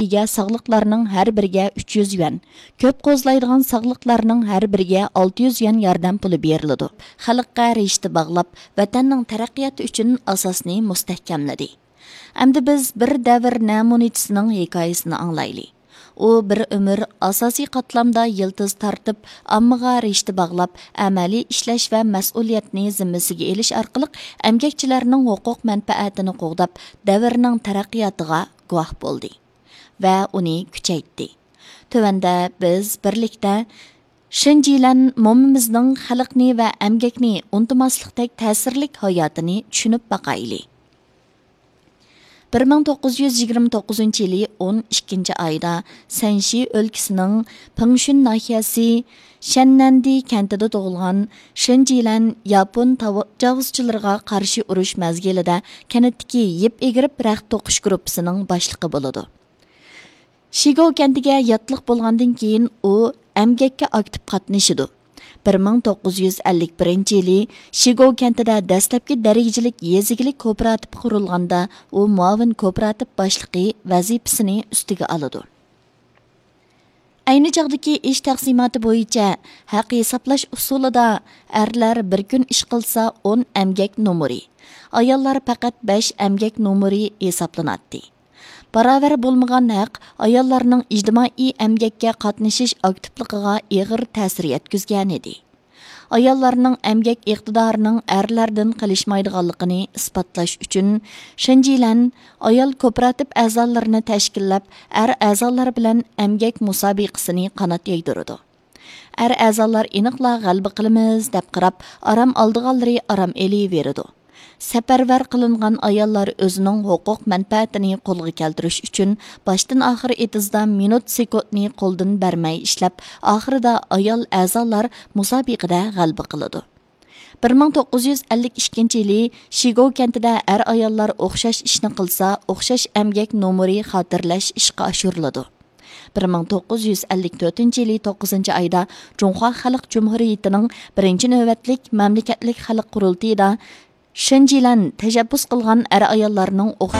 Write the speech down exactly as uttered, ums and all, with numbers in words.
ئىگە ساغلىقلارنىڭ ھەر بىرىگە ئۈچ يۈز يۈەن، كۆپ قوزلايدىغان ساغلىقلارنىڭ ھەر بىرىگە ئالتە يۈز يۈەن ياردەم پۇلى بېرىلىدۇ. خەلققە رىشتە باغلاپ، ۋەتەننىڭ تەرەققىياتى ئۈچۈن ئاساسنى مۇستەھكەملىدى. ئەمدى بىز بىر دەۋر نەمۇنىچىسىنىڭ ھېكايىسىنى ئاڭلايلى. ئۇ بىر ئۆمۈر ئاساسىي قاتلامدا يىلتىز تارتىپ، ئاممىغا رىشتە باغلاپ، ئەمەلىي ئىشلەش ۋە مەسئۇلىيەتنى زىممىسىگە ئېلىش ئارقىلىق ئەمگەكچىلەرنىڭ ھوقۇق مەنپەئەتىنى قوغداپ، دەۋرنىڭ تەرەققىياتىغا گۇۋاھ بولدى. ۋە ئۇنى كۈچەيتتى. تۆۋەندە بىز بىرلىكتە شېنجىلەن مومىمىزنىڭ خەلقنى ۋە ئەمگەكنى ئۇنتۇماسلىقتەك تەسىرلىك ھاياتىنى چۈشىنىپ باقايلى. بىر مىڭ توققۇز يۈز يىگىرمە توققۇزىنچى يىلى ئون ئىككىنچى ئايدا سەنشى ئۆلكىسىنىڭ پىڭشۈن ناھىيەسى شەننەندى كەنتىدە تۇغۇلغان شېنجىلەن ياپون تاجاۋۇزچىلىرىغا قارشى ئۇرۇش مەزگىلىدە كەنتتىكى يىپ ئېگىرىپ رەخت توقۇش گۇرۇپپىسىنىڭ باشلىقى بولىدۇ. شىگو كەنتىگە ياتلىق بولغاندىن كېيىن ئۇ ئەمگەككە ئاكتىپ قاتنىشىدۇ. بىر مىڭ توققۇز يۈز ئەللىك بىرىنچى يىلى شىگو كەنتىدە دەسلەپكى دەرىجىلىك يېزا ئىگىلىك كوپىراتىپى قۇرۇلغاندا، ئۇ مۇئاۋىن كوپىراتىپ باشلىقى ۋەزىپىسىنى ئۈستىگە ئالىدۇ. ئەينى چاغدىكى ئىش تەقسىماتى بويىچە ھەق ھېسابلاش ئۇسۇلىدا ئەرلەر بىر كۈن ئىش قىلسا ئون ئەمگەك نومۇرى، ئاياللار پەقەت بەش ئەمگەك نومۇرى ھېسابلىناتتى. باراۋەر بولمىغان ھەق ئاياللارنىڭ ئىجتىمائىي ئەمگەككە قاتنىشىش ئاكتىپلىقىغا ئېغىر تەسىر يەتكۈزگەنىدى. ئاياللارنىڭ ئەمگەك ئىقتىدارىنىڭ ئەرلەردىن قېلىشمايدىغانلىقىنى ئىسپاتلاش ئۈچۈن، شېنجىلەن ئايال كوپىراتىپ ئەزالىرىنى تەشكىللەپ، ئەر ئەزالار بىلەن ئەمگەك مۇسابىقىسىنى قانات يايدۇرىدۇ. ئەر ئەزالار ئېنىقلا غەلىبە قىلىمىز دەپ قاراپ، ئارام ئالىدىغانلىرى ئارام ئېلىۋېرىدۇ. سەپەرۋەر قىلىنغان ئاياللار ئۆزىنىڭ ھوقۇق مەنپەئەتىنى قولغا كەلتۈرۈش ئۈچۈن باشتىن ئاخىر ئېتىزدا مىنۇت سېكۇنتنى قولدىن بەرمەي ئىشلەپ، ئاخىرىدا ئايال ئەزالار مۇسابىقىدە غەلىبە قىلىدۇ. بىر مىڭ توققۇز يۈز ئەللىك ئىككىنچى يىلى شىگو كەنتىدە ئەر ئاياللار ئوخشاش ئىشنى قىلسا، ئوخشاش ئەمگەك نومۇرى خاتىرىلەش ئىشقا ئاشۇرۇلىدۇ. بىر مىڭ توققۇز يۈز ئەللىك تۆتىنچى يىلى توققۇزىنچى ئايدا جۇڭخۇا خەلق جۇمھۇرىيىتىنىڭ بىرىنچى نۆۋەتلىك مەملىكەتلىك خەلق قۇرۇلتىيىدا شېنجىلەن تەشەببۇس قىلغان ئەر ئاياللارنىڭ ئوخ